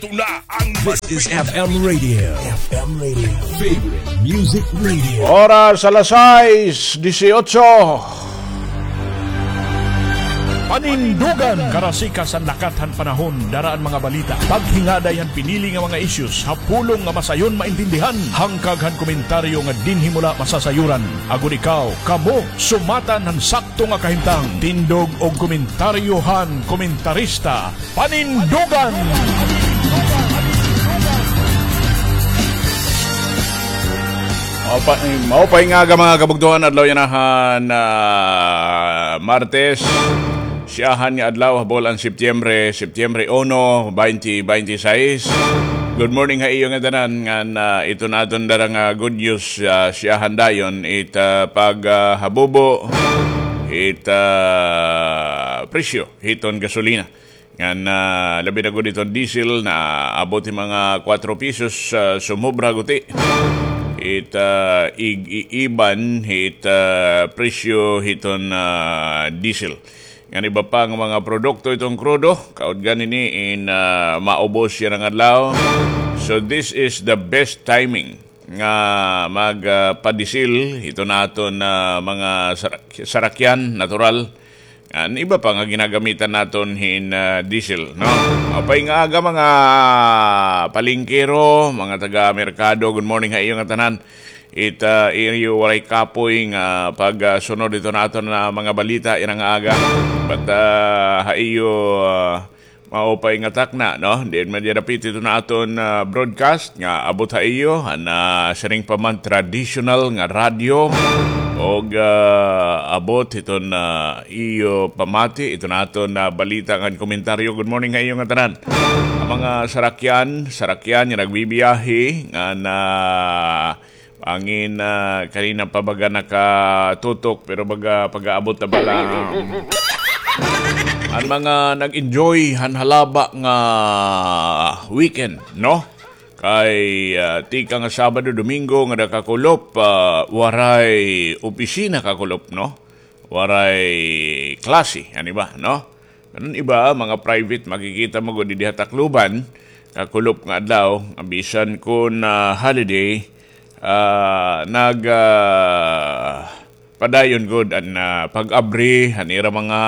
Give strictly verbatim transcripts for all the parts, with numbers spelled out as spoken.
Ito na ang This is F M Radio. F M Radio. Favorite Music Radio. Oras alas sais disiotso. Panindugan. Karasikas han lakat han panahon, dara an mga balita. Paghingaday han pinili nga mga issues ha pulong nga masayon maintindihan. Hangkag han komentaryo nga dinhi mo la masasayuran. Agod ikaw, kamo, sumatan han sakto nga kahimtang. Tindog og komentaryo han komentarista. Panindugan! Maupay, maupay nga aga, mga kabugtoan, adlaw yana han, ah, Martes. Siyahan nga adlaw ha bulan Setyembre, Setyembre uno, twenty twenty-six. Good morning ha iyo nga tanan, ngan, ah, ito na aton dara nga good news, ah, siyahan dayon, it, ah, pag, ah, habubo, it, ah, presyo hiton gasolina. Ngan, ah, labi na gud iton diesel, naabot hin mga kuwatro pesos, ah, sumobra guti. It, ah, ig-iiban hit, ah, presyo hiton, ah, diesel. Ngan iba pa nga mga produkto iton krudo, kaudgan ini in, ah, maubos yana nga adlaw. So this is the best timing nga mag, ah, padisil hiton aton, ah, mga sarak-, sarakyan, natural. An iba pa nga ginagamitan naton hin, ah, diesel, no? Maupay nga aga, mga palengkero, mga taga-merkado. Good morning ha iyo nga tanan. It, ah, iyo waray kapoy nga pag, ah, sunod hiton aton, ah, mga balita yana nga aga. But, ah, ha iyo, ah, maupay nga takna, no? Diin man dida dapit iton aton, ah, broadcast nga abot ha iyo han, ah, siring pa man traditional nga radyo, og, ah, abot hiton, ah, iyo pamati iton aton, ah, balita ngan komentaryo. Good morning ha iyo nga tanan. An mga sarakyan, sarakyan nga nagbibiyahe ngan, ah, Bangin, ah, kanina pa baga nakatutok, pero baga pag-aabot na bala. An mga nag-enjoy han halaba nga weekend, no? Kay, ah, tikang nga Sabado, Domingo nga nakakulop, ah, waray opisina kakulop, no? Waray klase, ano ba, no? Pero an iba, mga private, makikita mo gud didi ha Tacloban, kakulop nga adlaw, bisan kon, ah, holiday, ah, nag, ah, padayon gud an, ah, pag-abri han ira mga,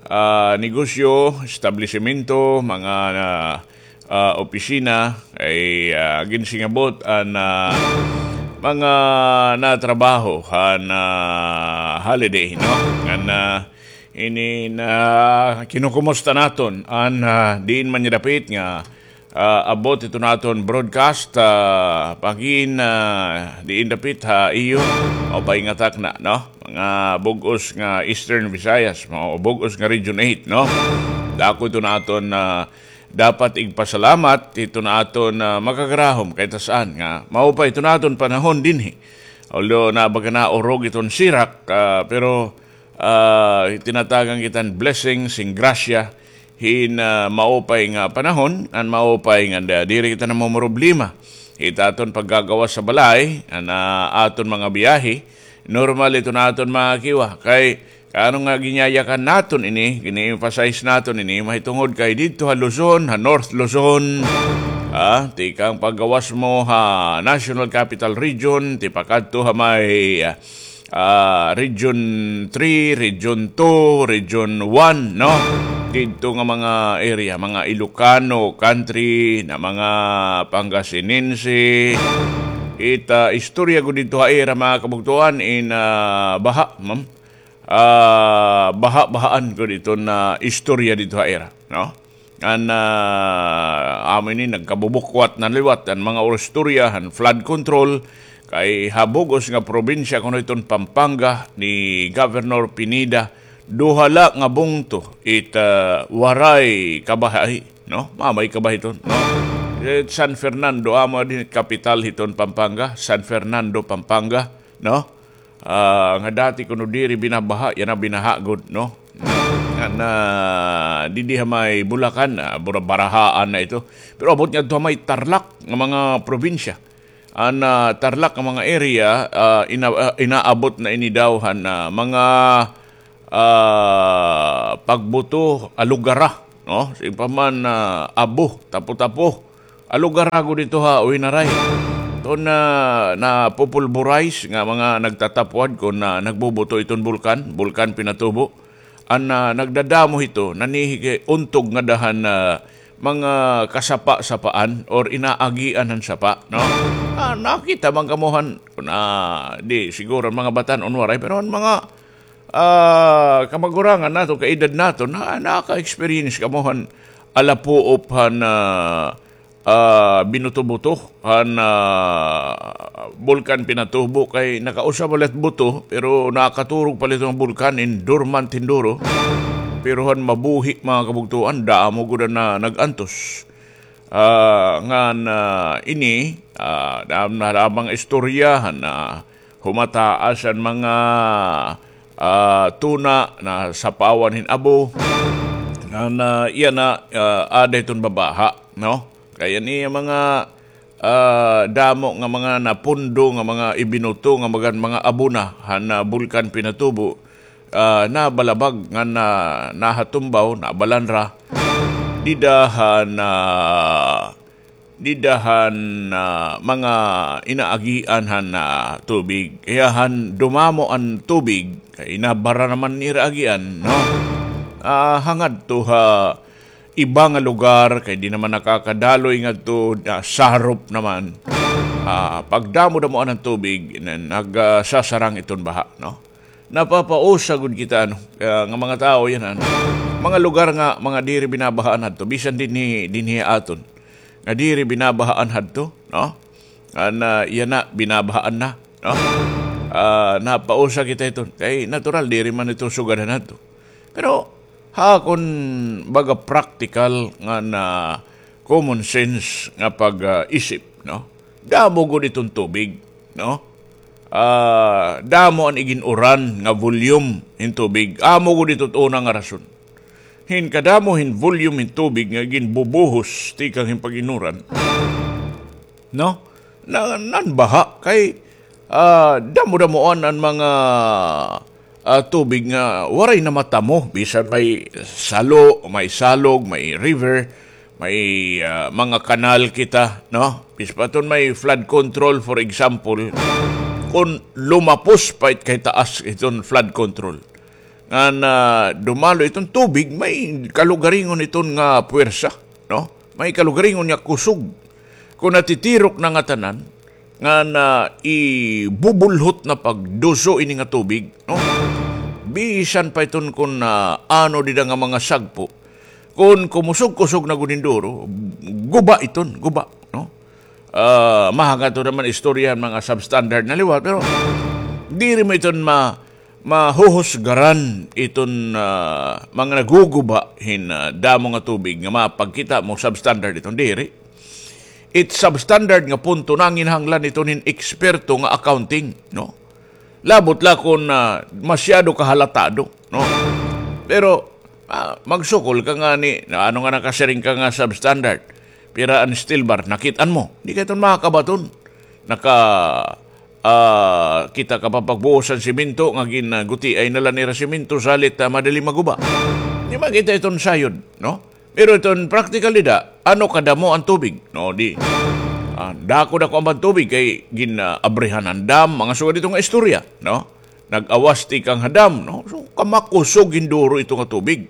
ah, negosyo, establisemento, mga, ah, ah, opisina, ay, ah, ginsingabot an, ah, mga natrabaho han, ah, holiday, no? Ngan, ah, Ini na kinukumusta naton an, ah, diin man niya dapit nga, ah, abot ito naton broadcast, ah, pagin, ah, diin dapit ha iyo, maupay nga takna, no? Mga bug-os nga Eastern Visayas, mga bug-os nga Region eight, no? Dako ito naton, ah, dapat igpasalamat ito naton, ah, makagarahom kay ta saan nga maupay ito naton panahon dinhi. Although na baga na urog iton sirak, ah, pero ah, tinatagan kita hin blessing, sin grasya, hin, ah, maupay nga panahon, an maupay nga da-, diri kita namomroblema. It aton paggagawas sa balay, an, ah, aton mga biyahe, normal ito naton mga kiwa. Kay, ano nga ginyayakan naton ini, gini-emphasize naton ini, mahitungod kay didto ha Luzon, ha North Luzon, ah, tikang paggawas mo ha National Capital Region, tipakadto ha may, ah, ah, Region three, Region two, Region one, no? Didto nga mga area, mga Ilocano country, na mga Pangasinense. It, ah, istorya gud didto ha ira, mga kabugtoan, in, ah, baha, ma'am. Ah, baha-bahaan gud iton istorya didto ha ira, no? An, ah, amo ini nagkabubukwat na liwat an mga istorya han flood control kay ha bug-os nga probinsya kuno iton Pampanga ni Governor Pineda, duha la nga bungto it, ah, waray kabahi, no? Mamay kabahi iton, no? Eh, San Fernando, amo dinhi kapital hiton Pampanga, San Fernando, Pampanga, no? Ah, nga dati kuno diri binabaha, yana binaha gud, no? Nga na, didi ha may Bulacan, ah, bura-, barahaan na ito. Pero abot ngadto ha may Tarlac nga mga probinsya. An, ah, Tarlac nga mga area, ah, ina-, ah, inaabot na ini daw han, ah, mga, ah, pagbuto, alugara. no? Siring pa man, ah, abo, tapo-tapo. Alugara gud ito ha Winaray. Ito na, napupulburize nga mga nagtatapuad kon na nagbubuto iton bulkan, Bulkan Pinatubo. An, ah, nagdadamo hito, nanhihiuntog ngada han, ah, mga kasapa-sapaan or inaagian han sapa, no? Ah, nakita man kamo han, kon, ah, di siguro an mga batan-on waray, pero an mga, ah, kamagurangan naton, kaedad naton, na, naka-experience kamo han alapuop han, ah, ah, binuto-buto han, ah, Bulkan Pinatubo kay nakausa bala it buto, pero nakaturog pala iton bulkan in dormant hinduro. Pero han mabuhi, mga kabugtoan, damo gud an, ah, nag-antos. Ah, ngan, ah, ini, ah, dam-, na lamang istorya han, ah, humataas an mga, ah, tuna na sapawan hin abo. Ngan, ah, iya na, ah, ada iton babaha, no? Kay an iya mga, ah, damo nga mga napundo nga mga ibinuto nga mga, mga abo na han, ah, Bulkan Pinatubo, ah, nabalabag ngan na, nahatumbaw, nabalanra. Dida han, ah, dida han, ah, mga inaagian han, ah, tubig. Kaya han dumamo an tubig, kay nabara naman nira agian, no? Ah, hangadto ha iba nga lugar, kay di naman nakakadaloy ngadto, ah, sarop naman. Ah, pagdamo-damoan an tubig, na-, nag, ah, sasarang iton baha, no? Napapausa gud kita, ano, ah, nga mga tawo yana, ano. Mga lugar nga, mga diri binabahaan hadto, bisan dinhi, dinhi aton. Nga diri binabahaan hadto, no? An, ah, yana, binabahaan na, no? Ah, napausa kita iton. Kay natural, diri man ito sugadan hadto. Pero, ha, kon baga praktikal nga na common sense nga pag, ah, isip, no? Damo gud iton tubig, no? Ah, damo an igin-uran nga volume hin tubig. Amo gud ito it una nga rason. Hin kadamo hin volume hin tubig nga ginbubuhos tikang hin pag-inuran, no? Na, nan baha kay, ah, damo-damoan an mga, ah, tubig nga waray na matamo. Bisan may salo, may salog, may river, may, ah, mga kanal kita, no? Bis pa iton may flood control, for example, kon lumapos pa it kay taas iton flood control, ngan, ah, dumalo iton tubig, may kalugaringon iton nga puwersa, no? May kalugaringon nga kusog. Kon natitirok na ngatanan, ngan, ah, ibubulhot na pagduso ini nga tubig, no? Bisan pa iton kon, ah, ano dida nga mga sagpo, kon kumusog-kusog na gud hinduro, guba iton, guba, no? Ah, mahangad to naman istorya han mga substandard na liwat, pero diri man iton ma-, mahuhusgaran iton, ah, mga naguguba hin, ah, damo nga tubig nga mapagkita mo substandard iton, diri. It substandard nga punto nanginahanglan iton hin eksperto nga accounting, no? Labot la kon, ah, masyado kahalatado, no? Pero, ah, magsukol ka ngani, na ano nga nakasiring ka nga substandard? Pira an steel bar? Nakit-an mo? Di ka iton makakabaton. Naka, ah, kita ka pa pagbuhos han semento, nga gin-, ah, gutiay na la nira semento, salit, ah, madali maguba. Di makita iton sayod, no? Pero iton praktikal dida, ano kadamo an tubig, no? Di, ah, dako-dako an tubig kay gin-, ah, abrihan an dam, mga sugad ito nga istorya, no? Nag-awas tikang ha dam, no? So, kamakusog hinduro ito nga tubig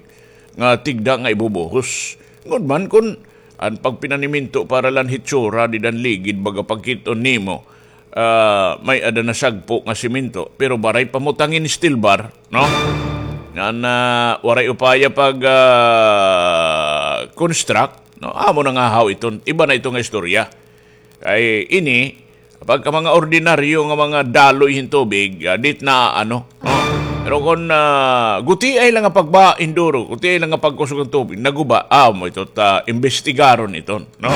nga tigda nga ibubuhos. Ngunman kon an pagpinaniminto para la han hitsura dida han ligid, baga pagkit-on nimo, ah, may-ada na sagpo nga semento, pero baray pa mo tangin steel bar, no? Ngan, ah, waray upaya pag, ah, construct, no? Amo na nga haw iton, iba na ito nga istorya. Kay ini, pagka mga ordinaryo nga mga daloy hin tubig, ah, dit na ano, no? Pero kon, ah, gutiay la nga pagba hinduro, gutiay la nga pagkusog han tubig, naguba, amo ito ta imbestigaron iton, no?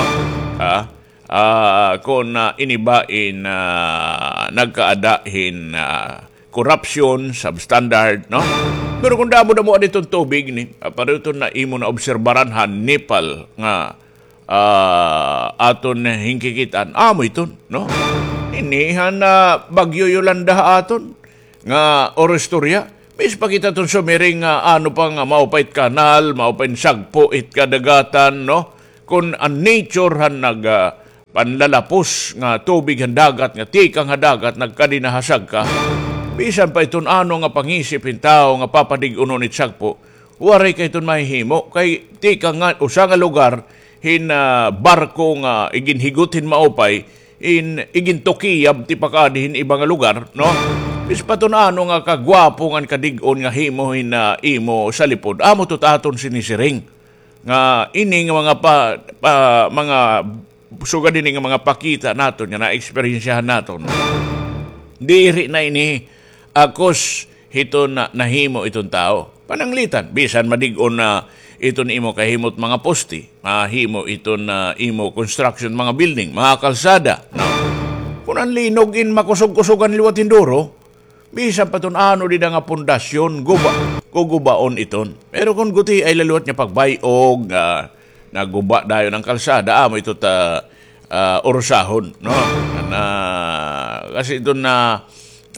Ah, ah, kon, ah, ini ba in, ah, nagkaada hin, ah, corruption, substandard, no? Pero kon damo-damo an iton tubig ni, ah, pareho iton na imo naobserbaran ha Nepal nga, ah, aton hinkikit-an, amo iton, no? Ini han, ah, Bagyo Yolanda ha aton nga oro istorya, bis pa kita iton sumiring nga ano pa nga maupay it kanal, maupay it sagpo it kadagatan, no? Kon an nature han nag, ah, panlalapos nga tubig han dagat nga tikang ha dagat nagkadinahasag ka, bisan pa iton ano nga pangisip hin tawo nga papadig-unon it sagpo, waray kay iton mahihimo kay tikang nga usa nga lugar hin, ah, barko nga iginhigot hin maupay, in igintukiyab tipakadi hin iba nga lugar, no? Bisan pa iton ano nga kagwapo ngan kadig-on nga himo hin, ah, imo salipod. Amo ito it aton sinisiring nga ini nga mga pa, pa, mga sugad ini nga mga pakita naton nga naeksperyensyahan naton. Diri na ini akos hiton na, nahimo iton tawo. Pananglitan, bisan madig-on na iton imo kahimot mga poste, mahimo iton na imo construction mga building, mga kalsada, no? Kon an linog in makusog-kusogan liwat hin duro, bisan pa iton ano dida nga pundasyon, guba, gugubaon iton. Pero kon gutiay la liwat nga pagbay-og, ah, naguba dayon an kalsada, amo ito ta, ah, urusahon, no? Na, kasi iton na,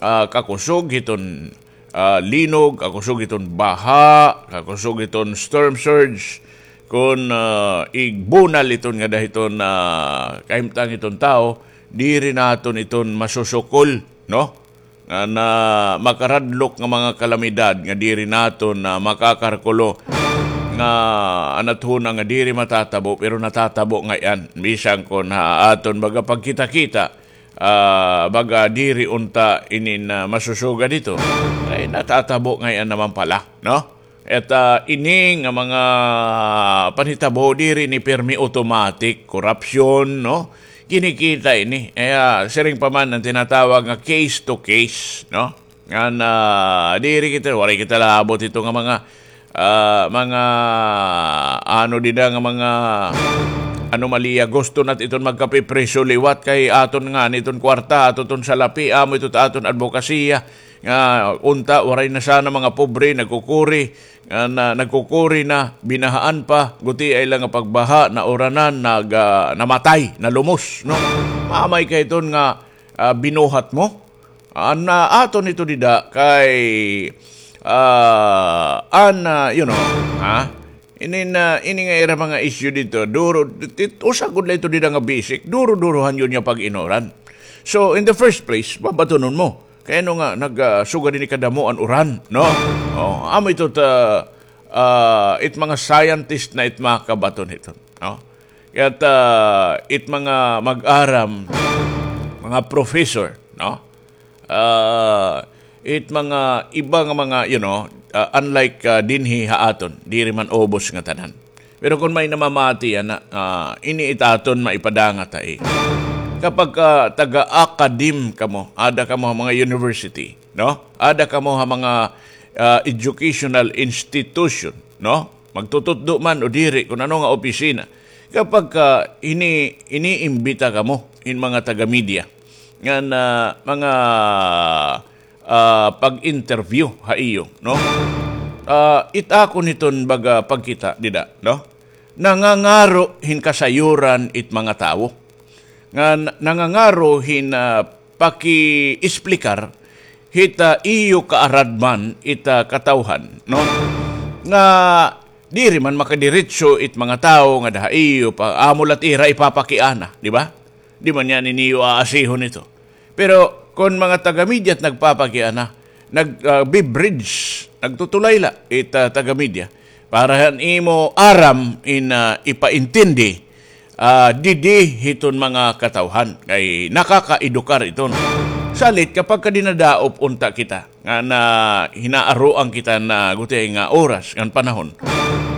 ah, kakusog hiton, ah, linog, kakusog hiton baha, kakusog hiton storm surge, kon, ah, igbunal iton nga dahiton, ah, kahimtang iton tawo, diri naton iton masusukol, no? Nga na makaradlok nga mga kalamidad nga diri naton na makakarkulo nga an athona nga diri matatabo, pero natatabo ngay-an. Bisan kon ha aton baga pagkita-kita, ah, baga diri unta ini na masusugad ito. Kay natatabo ngay-an naman pala, no? At, ah, ini nga mga panhitabo, diri ini pirmi automatic, korupsyon, no? Kinikita ini. Kaya, siring pa man an tinatawag nga case to case, no? Ngan, ah, diri kita, waray kita labot ito nga mga, ah, mga, ano dida nga mga anomalya. Gusto nat iton magkapipriso liwat kay aton ngani iton kwarta, ato iton salapi, amo ito ta aton adbokasiya. Nga unta, waray na sana mga pobre, nagkukuri, nga na, nagkukuri na, binahaan pa, gutiay la nga pagbaha, nauranan, nag, ah, namatay, nalumos, no? Maamay kay iton nga, ah, binuhat mo. An, ah, aton ito dida kay, ah, an, ah, you know, ha? Ini na, ini nga ira mga issue dito, duro, tit-, usa gud la ito dida nga basic, duro-durohan yun nga pag-inuran. So, in the first place, babatunon mo. Kay ano nga, nag, ah, sugad ini kadamo an uran, no? Oh, amo ito ta, ah, it mga scientist na it makabaton ito, no? Kaya, ah, it mga mag-aram, mga professor, no? Ah, it mga iba nga mga, you know, ah, unlike, ah, dinhi ha aton, diri man ubos nga tanan. Pero kon may namamati yana, ah, ini it aton maipadangat ha iyo. Kapag, ah, taga-academe kamo, ada kamo ha mga university, no? Ada kamo ha mga, ah, educational institution, no? Magtututdo man o diri, kon ano nga opisina. Kapag, ah, ini-, iniimbita kamo in mga taga-media, ngan mga, ah, pag-interview ha iyo, no? Ah, it akon hiton baga pagkita dida, no? Nangangaro hin kasayuran it mga tawo. Nga n-, nangangaro hin, ah, paki-explicar hit, ah, iyo kaaradman it, ah, katawhan, no? Nga diri man makadiretso it mga tawo nga daha iyo pa, amo la it ira ipapakiana, di ba? Di man yana niyo aasihon ito. Pero kon mga taga-media it nagpapakiana, nag, ah, bibridge, nagtutulay la it, ah, taga-media para han imo aram in, ah, ipaintindi, ah, didi hiton mga katawhan. Kay nakakaedukar iton. Salit kapag ka dinadaop unta kita, nga na hinaaroan kita na gutiay nga oras, ngan panahon.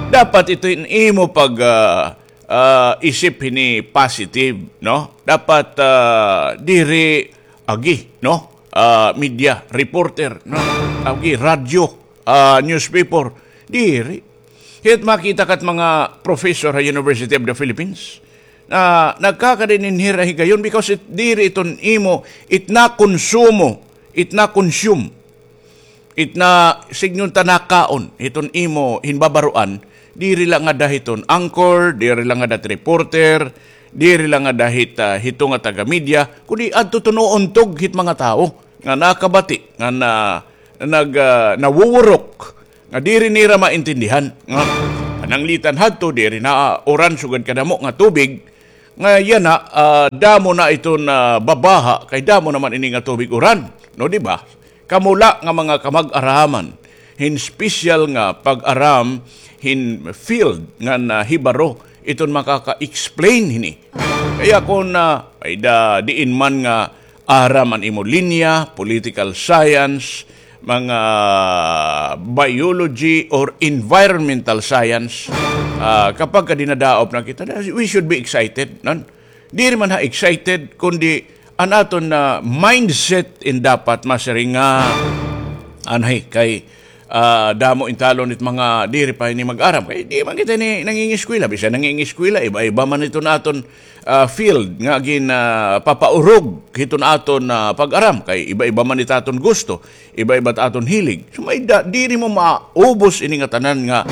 Dapat ito in imo pag, ah, ah, isip hini positive, no? Dapat, ah, diri agi, no? Ah, media, reporter, no? Agi, radyo, ah, newspaper, diri. Kaya't makita ka it mga professor ha University of the Philippines na nagkakadin in hira higayon because it, diri iton imo, it nakonsumo, it na-consume. It na, sidngon ta nakaon, hiton imo hinbabaroan, diri la ngada hiton anchor, diri la ngada hit reporter, diri la ngada hit, ah, hito nga taga-media, kundi adto iton uuntog hit mga tawo nga nakabati, nga na, nag, ah, nawuwurok nga diri nira maintindihan. Nga, pananglitan hadto, diri na uran sugad kadamo nga tubig, nga yana, ah, damo na iton, ah, babaha, kay damo naman ini nga tubig uran. No, di ba? Kamo la nga mga kamag-araman, hin special nga pag-aram, hin field nga nahibaro, iton makaka-explain hini. Kaya kung, ah, ay da, diin man nga aram an imo linya, political science, mga biology or environmental science, ah, kapag ka dinadaop na kita, we should be excited, non? Diri man ha excited, kundi an aton na mindset in dapat masiring nga, anay, kay, ah, damo in talon it mga diri pa ini mag-aram. Kay di man kita ini nangingiskwela. Bisan nangingiskwela, iba-iba man iton aton, ah, field nga gin, ah, papaurog hiton aton, ah, pag-aram. Kay iba-iba man it aton gusto, iba-iba it aton hilig. So, may da, diri mo maubos ini nga tanan nga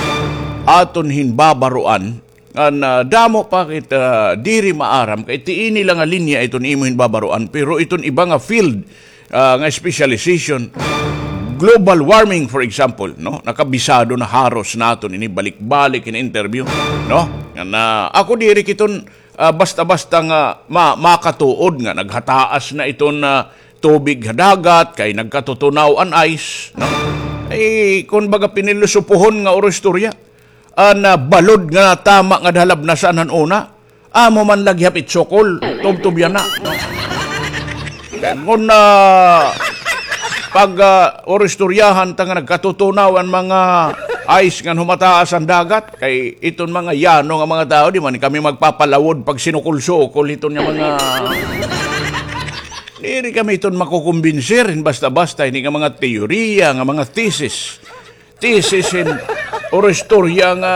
aton hinbabaroan. An, ah, damo pa kita diri maaram, kay ti ini la nga linya iton imo hinbabaroan, pero iton iba nga field, ah, nga specialization, global warming, for example, no? Nakabisado na haros naton ini balik-balik in interview, no? Nga na, ako diri kiton, ah, basta-basta nga ma-, makatuod nga naghataas na iton, ah, tubig ha dagat, kay nagkatutunaw an ice, no? Ay, kun baga pinilosopohon nga oro istorya, an, ah, balod nga tama nga dalabnasan han una. Amo man lagi hapit sukol, tubtob yana. Ngon, ah, pag, ah, oristoryahan ta nga nagkatutunaw an mga ice ngan humataas an dagat, kay iton mga yano nga mga tawo, di man kami magpapalawod pag sinukol-sukol iton nga mga, diri kami iton makukumbinsir hin basta-basta, ini nga mga teorya, nga mga thesis. Thesis hin oro istorya nga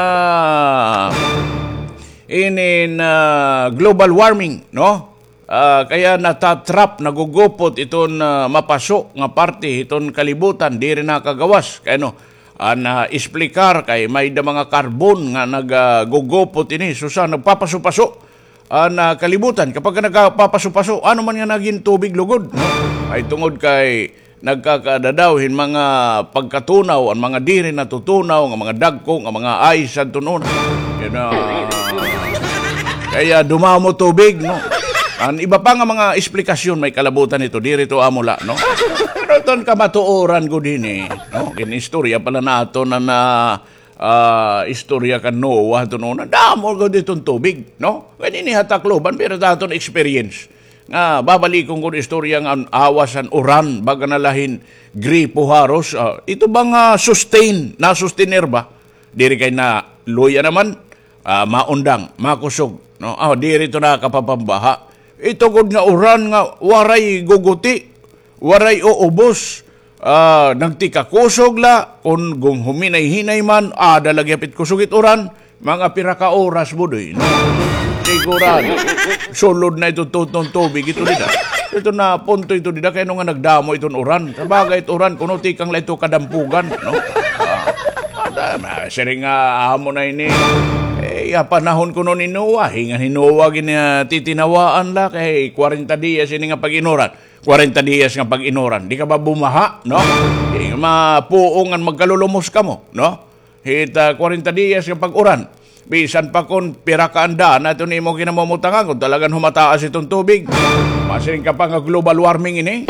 inin, ah, global warming, no? Ah, kaya natatrap, nagugupot iton, ah, mapaso nga parte hiton kalibutan, diri nakagawas. Kay ano, an, ah, esplikar kay may da mga karbon nga nag, ah, gugupot ini. Susa, nagpapaso-paso an, ah, kalibutan. Kapag ka nagpapaso-paso, ano man nga nagin tubig lugod, no? Ay tungod kay nagkakadadaw hin mga pagkatunaw, an mga diri natutunaw, nga mga dagko, nga mga ice, adton una. Yan na. Kaya dumamo tubig, no? An iba pa nga mga esplikasyon, may kalabutan ito, diri to amo la, no? Pero iton kamatuoran gud hini, no? Gin-istorya pala naton an, ah, ah, istorya kan Noah, adton una, damo gud iton tubig, no? Kay dinhi ha Tacloban, pero ta aton experience. Nga, babalikon ko an istorya nga an awas an uran, baga na la hin gripo haros, ah, ito ba nga sustain, na-sustainer ba? Diri kay na luya naman, ah, maundang, makusog, no? Ah, diri to nakapapambaha. Ito gud nga uran nga waray guguti, waray uubos. Ah, nagtikakusog la, kun gung huminay-hinay man, ada lagi hapit kusog it uran, mga pira ka oras, Budoy, no? Sigurado. Sulod na ito tutong tubig, ito dida. Ito na punto ito dida, kay ano nga nagdamo iton uran. Sa bagay, it uran, kuno tikang la ito kadampugan, no? Ah, ada, ma-, siring nga, amo na ini. Eh, ya panahon kuno ni Noah, hingan ni Noah gin, ah, titinawaan la, kay kwarenta diyas ini nga pag-inuran. Kwarenta diyas nga pag-inuran. Di ka ba bumaha, no? Di mapuong an magkalulumos kamo, no? Hit, ah, kwarenta diyas nga pag-uran. Bisan pa kon pira ka an dana iton imo kinamumutangan, kon talagan humataas iton tubig. Masiring ka pa nga global warming ini.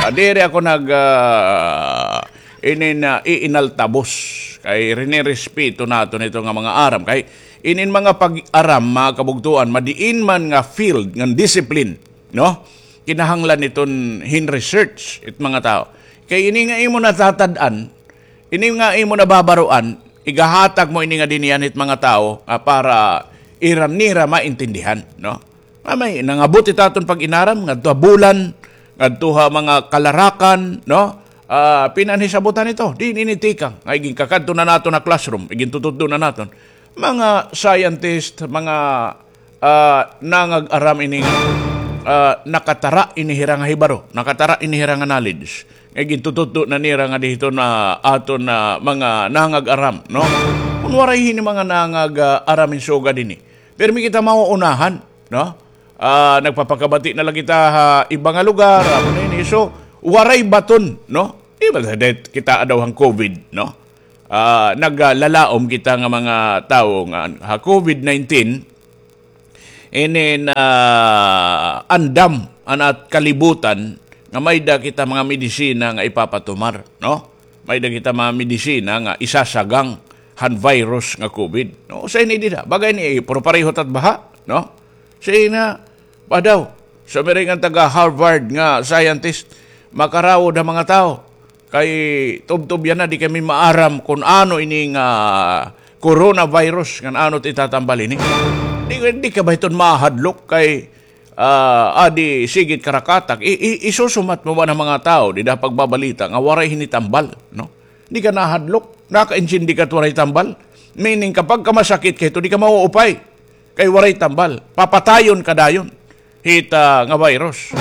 Ah, diri ako nag, ah, inin, ah, iinaltabos. Kay rinirespeto naton ito nga mga aram. Kay inin mga pag-aram, mga kabugtuan, madiin man nga field, nga discipline, no? Kinahanglan iton hin-research it mga tawo. Kay ini nga imo natatad-an, ini nga imo nababaroan, igahatag mo ini nga dinhi han it mga tawo nga para ira nira maintindihan, no? Nga may nangabot it aton pag-inaram ngadto ha bulan, ngadto ha mga kalarakan, no? Ah, pinaanhi sabutan ito. Diin ini tikang? Nga iginkakadto na naton ha classroom, igintututdo na naton. Mga scientist, mga ah, nangag-aram ini nga, ah, nakatara ini hira nga hibaro, nakatara ini hira nga knowledge. Nga gintututdo na nira nga dihito na aton na mga nangag-aram, no? Kun waray hini mga nangag, ah, aram hin sugad hini, pirmi kita mauunahan, no? Ah, nagpapakabati na la kita ha iba nga lugar, amo na ini. So, waray baton, no? Di ba, kita daw han COVID, no? Ah, naglalaom kita nga mga tawo nga ha COVID nineteen, ini na andam an at kalibutan nga may-ada kita mga medisina nga ipapatumar, no? May-ada kita mga medisina nga isasagang han virus nga COVID, no? Usa ini dida, bagay ni, pero pareho ta it baha, no? Usa ini, pa daw, sumiring an taga Harvard nga scientist, makarawod an mga tawo. Kay tubtob yana, di kami maaram kun ano ini nga coronavirus, ngan ano it itatambal ini. Di, di ka ba hiton mahadlok kay, ah, adi sige it karakatak, i-, i-, isusumat mo ba an mga tawo dida pagbabalita nga waray hini tambal, no? Di ka nahadlok, nakaintindi ka it waray tambal. Meaning, kapag ka masakit ka hito, di ka mauupay. Kay waray tambal, papatayon ka dayon hit, ah, nga virus.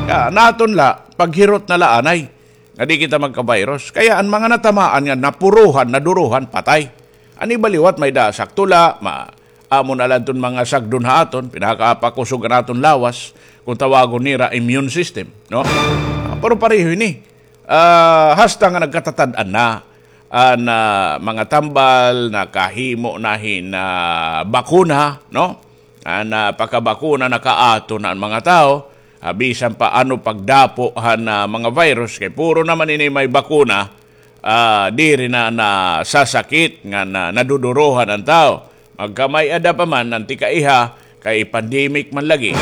Kay an aton la, paghirot na la anay nga di kita magka-virus. Kaya an mga natamaan nga napurohan, nadurohan, patay. An iba liwat may-ada sakto la, ma-, amo na la iton mga sagdon ha aton, pinakapakusog an aton lawas, kun tawagon nira immune system, no? Ah, pero pareho ini. Ah, hasta nga nagkatatad-an na an, ah, mga tambal, nakahimo na hin, ah, bakuna, no? An, ah, pakabakuna, nakaaton na an mga tawo, ah, bisan pa ano pagdapo han, ah, mga virus, kay puro naman ini may bakuna, ah, diri na nasasakit ngan nadudurohan an tawo. Magkamay-ada pa man an tikaiha, kay pandemic man lagi,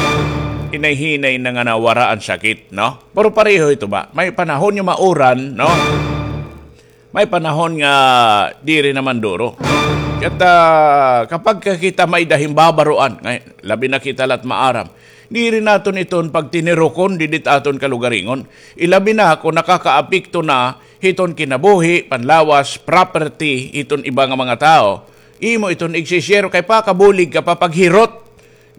hinay-hinay na nga nawara an sakit, no? Pero pareho ito ba? May panahon nga mauran, no? May panahon nga diri naman duro. Ket, ah, kapag ka kita may-ada hin babaroan, ngay-, labi na kita la it maaram, diri naton iton pagtinirukon didi it aton kalugaringon. Ilabi na kun nakakaapekto na hiton kinabuhi, panlawas, property hiton iba nga mga tawo. Imo iton igsi-share kay pakabulig ka pa paghirot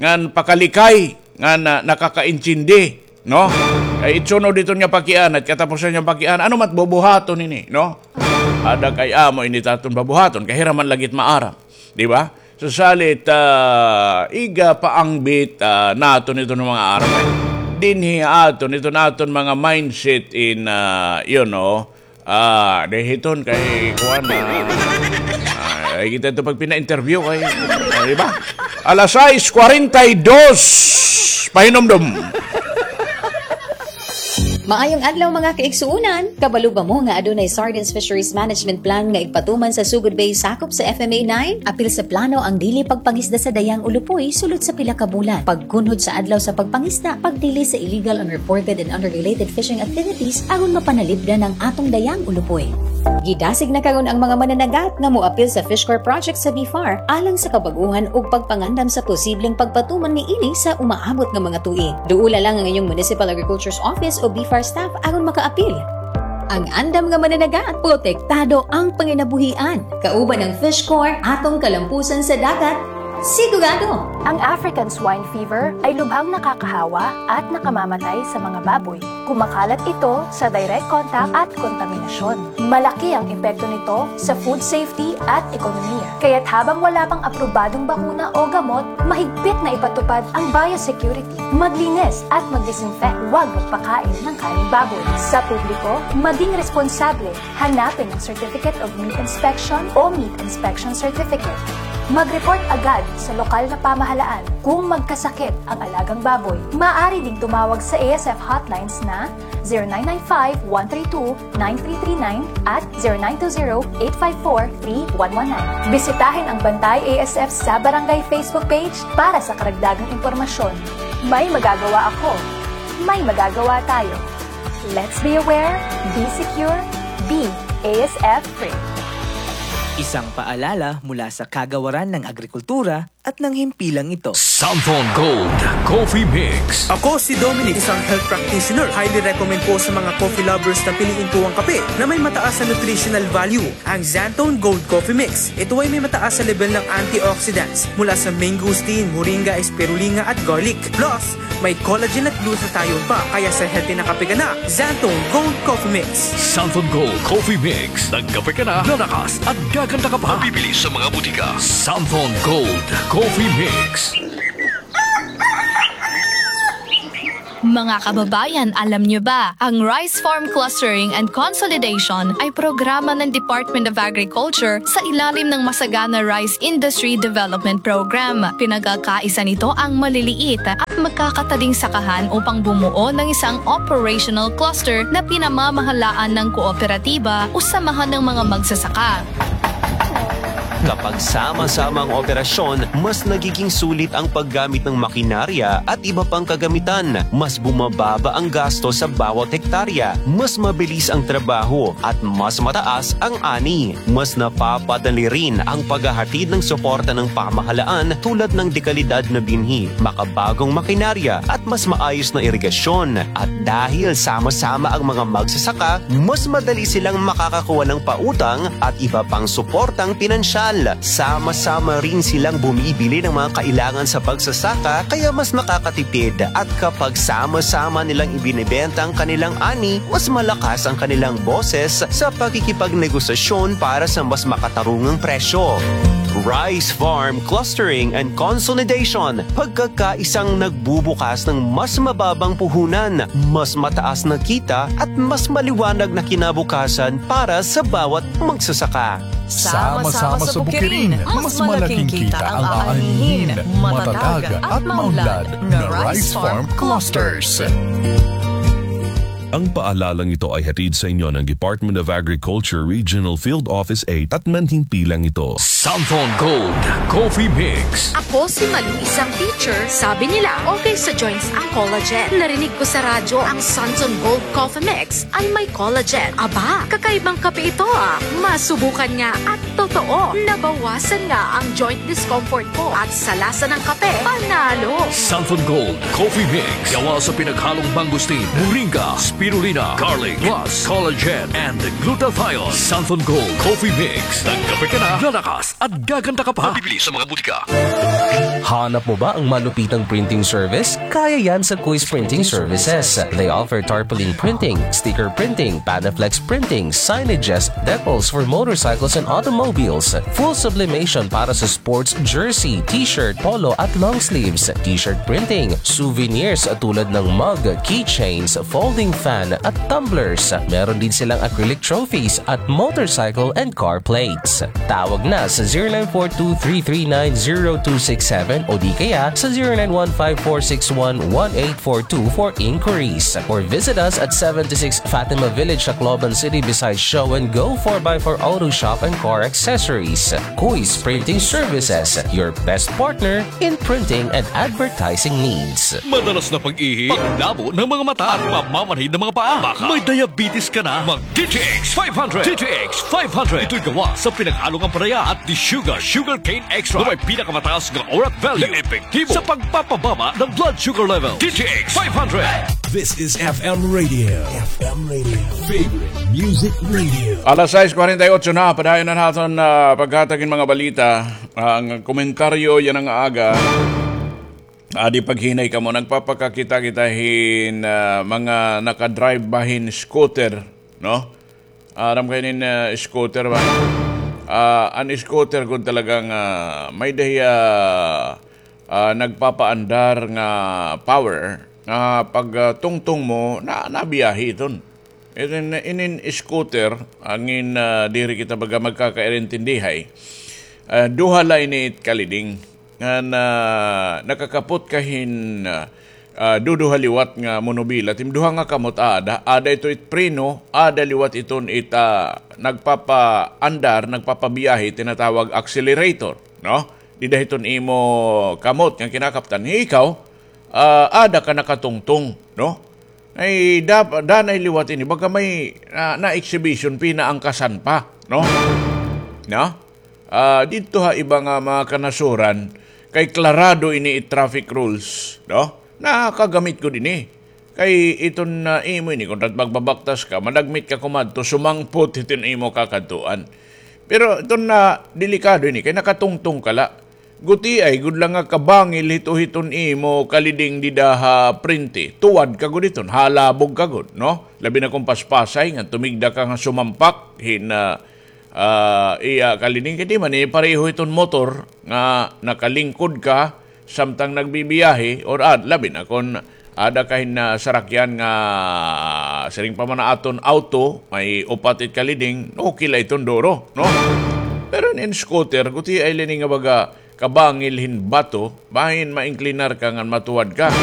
ngan pakalikay ngan, ah, nakakaintindi, no? Kay it sunod hiton nga pakiana, katapusan nga pakiana, ano man it bubuhaton ini, no? Ada kay amo ini it aton babuhaton, kay hira man lagi it maaram, di ba? So, salit, ah, iga paangbit, ah, naton iton mga aram, eh. Dinhi aton, iton aton mga mindset in, ah, you know, ah, di hiton kay kuan, ah, ah, ay kita ito pagpina-interview kay, ah, di ba? Alas sais kwarenta y dos, pahinumdom. Maayong adlaw, mga kaigsuonan! Kabalo ba mo nga adunay Sardines Fisheries Management Plan nga igpatuman sa Sogod Bay sakop sa F M A nine? Apil sa plano ang dili pagpangisda sa Dayang Ulupoy sulod sa pila ka bulan, pagkunhod sa adlaw sa pagpangisda, pagdili sa illegal, unreported, and unregulated fishing activities aron mapanalipdan ang atong Dayang Ulupoy. Gidasig na karon ang mga mananagat nga moapil sa Fish Corps project sa BFAR alang sa kabag-ohan ug pagpangandam sa posibleng pagpatuman niini sa umaabot nga mga tuig. Duola lang ang inyong Municipal Agriculture's Office o BFAR staff aron makaapil. Ang andam nga mananagat, protektado ang panginabuhian. Kauban ang Fish Corps, atong kalampusan sa dagat, sigurado! Ang African Swine Fever ay lubhang nakakahawa at nakamamatay sa mga baboy. Kumakalat ito sa direct contact at kontaminasyon. Malaki ang epekto nito sa food safety at ekonomiya. Kaya't habang wala pang aprobadong bakuna o gamot, mahigpit na ipatupad ang biosecurity. Maglinis at mag-disinfect. Huwag magpakain ng karing baboy. Sa publiko, maging responsable. Hanapin ang Certificate of Meat Inspection o Meat Inspection Certificate. Mag-report agad sa lokal na pamahalaan kung magkasakit ang alagang baboy. Maaari ding tumawag sa A S F hotlines na zero nine nine five, one three two, nine three three nine at zero nine two zero, eight five four, three one one nine. Bisitahin ang Bantay A S F sa Barangay Facebook page para sa karagdagang impormasyon. May magagawa ako. May magagawa tayo. Let's be aware, be secure, be A S F free. Isang paalala mula sa Kagawaran ng Agrikultura at ng himpilang ito. Santhon Gold Coffee Mix. Ako si Dominic, isang health practitioner. Highly recommend ko sa mga coffee lovers na piliin ko ang kape na may mataas na nutritional value, ang Xanthone Gold Coffee Mix. Ito ay may mataas na level ng antioxidants mula sa mangosteen, moringa, spirulina at garlic. Plus, may collagen at glutathione pa, kaya sa healthy na kape ka na, Xanthone Gold Coffee Mix. Santhon Gold Coffee Mix. Nagkape ka na, lalakas at gaganda ka pa. Mabibili sa mga butika. Santhon Gold Coffee Mix. Mga kababayan, alam niyo ba, ang Rice Farm Clustering and Consolidation ay programa ng Department of Agriculture sa ilalim ng Masagana Rice Industry Development Program. Pinagkakaisa nito ang maliliit at magkakataling sakahan upang bumuo ng isang operational cluster na pinamamahalaan ng kooperatiba o samahan ng mga magsasaka. Kapag sama-sama ang operasyon, mas nagiging sulit ang paggamit ng makinarya at iba pang kagamitan. Mas bumababa ang gasto sa bawat hektarya, mas mabilis ang trabaho, at mas mataas ang ani. Mas napapadali rin ang paghahatid ng suporta ng pamahalaan tulad ng dekalidad na binhi, makabagong makinarya, at mas maayos na irigasyon. At dahil sama-sama ang mga magsasaka, mas madali silang makakakuha ng pautang at iba pang suportang pinansyal. Sama-sama rin silang bumibili ng mga kailangan sa pagsasaka, kaya mas makakatipid. At kapag sama-sama nilang ibinebenta ang kanilang ani, mas malakas ang kanilang boses sa pakikipagnegosasyon para sa mas makatarungang presyo. Rice Farm Clustering and Consolidation, pagkakaisang nagbubukas ng mas mababang puhunan, mas mataas na kita, at mas maliwanag na kinabukasan para sa bawat magsasaka. Sama-sama sa bukirin, mas malaking kita ang aanihin, matatag at maunlad nga Rice Farm Clusters. Ang paalalang ito ay hatid sa inyo ng Department of Agriculture Regional Field Office eight at manhimpilang ito. Santhon Gold Coffee Mix. Ako si Malu, isang teacher. Sabi nila, okay sa joints ang collagen. Narinig ko sa radyo ang Santhon Gold Coffee Mix ay may collagen. Aba, kakaibang kape ito ah. Masubukan nga at totoo, nabawasan nga ang joint discomfort ko at sa lasa ng kape, panalo. Santhon Gold Coffee Mix. Gawa sa pinaghalong mangosteen, moringa, spirulina, garlic, plus collagen and glutathione. Santhon Gold Coffee Mix. Nagkape ka na, lalakas at gaganda ka pa. Mabibili sa mga butika. Hanap mo ba ang malupitang printing service? Kaya yan sa Kuis Printing Services. They offer tarpaulin printing, sticker printing, Panaflex printing, signages, decals for motorcycles and automobiles, full sublimation para sa sports jersey, t-shirt, polo at long sleeves, t-shirt printing, souvenirs tulad ng mug, keychains, folding fan at tumblers. Meron din silang acrylic trophies at motorcycle and car plates. Tawag na sa zero nine four two three three nine zero two six seven o di kaya sa zero nine one five four six one one eight four two for inquiries. Or visit us at seventy-six Fatima Village, Tacloban City, beside Show and Go four by four Auto Shop and Car Accessories. Kuis Printing Services, your best partner in printing and advertising needs. Madalas na pag-ihi, paglabo ng mga mata, at pamamanhid ng mga paa. Baka may diabetes ka na. Mag D T X five hundred. D T X five hundred. Ito'y gawa sa pinaghalong ampalaya at desugar, sugarcane extract, na may pinakamataas nga orat value na epektibo sa pagpapababa ng blood sugar level. D T X five hundred. This is F M Radio. F M Radio. Favorite Music Radio. Alas sais kuwarenta y otso na, padayon an aton, ah, paghatag hin mga balita. Ang komentaryo yana nga aga. Adi paghinay kamo, nagpapakakita kita hin, ah, mga naka-drive ba hin scooter, no? Aram kayo nin, ah, scooter ba? Ah, an scooter kun talagang, ah, may dahiya, ah, nagpapaandar nga power, nga pag, ah, tungtong mo, na, nabiyahe iton. Inin, inin scooter, angin, ah, diri kita baga magkakaintindihay. Ah, duha la ini it kaliding. Ngan, ah, nakakapot ka hin, ah, ah, duduha liwat nga monobila. Tim duha nga kamot aada, aada ito it preno, aada liwat iton it, ah, nagpapaandar, nagpapabiyahe, tinatawag accelerator, no? Dida hiton imo kamot nga kinakaptan. Ikaw, ah, aada ka nakatungtong, no? Ay, dap-, danay liwat ini. Baga may, ah, na-exhibition, pinaangkasan pa, no? No? Ah, didto ha iba nga mga kanasuran, kay klarado ini it traffic rules, no? Nakagamit gud ini. Kay iton na imo ini, kun rat magbabaktas ka, madagmit ka kumadto, sumangpot iton imo kakadtuan. Pero iton na delikado ini, kay nakatungtong ka la. Gutiay gud la nga kabangil hito hiton imo kaliding dida ha prente. Tuwad ka gud hiton, halabog ka gud, no? Labi na kon paspasay nga tumigda ka nga sumampak hin, ah, ah, iya kaliding. Kay di man ini pareho hiton motor nga nakalingkod ka samtang nagbibiyahe or, ah, labi na kon Ada ka hin, ah, sarakyan nga siring pa man aton auto, may upat it kaliding, okay la iton duro, no? Pero in scooter, gutiay la ini nga baga kabangil hin bato, bahin ma-inclinar ka ngan matuwad ka.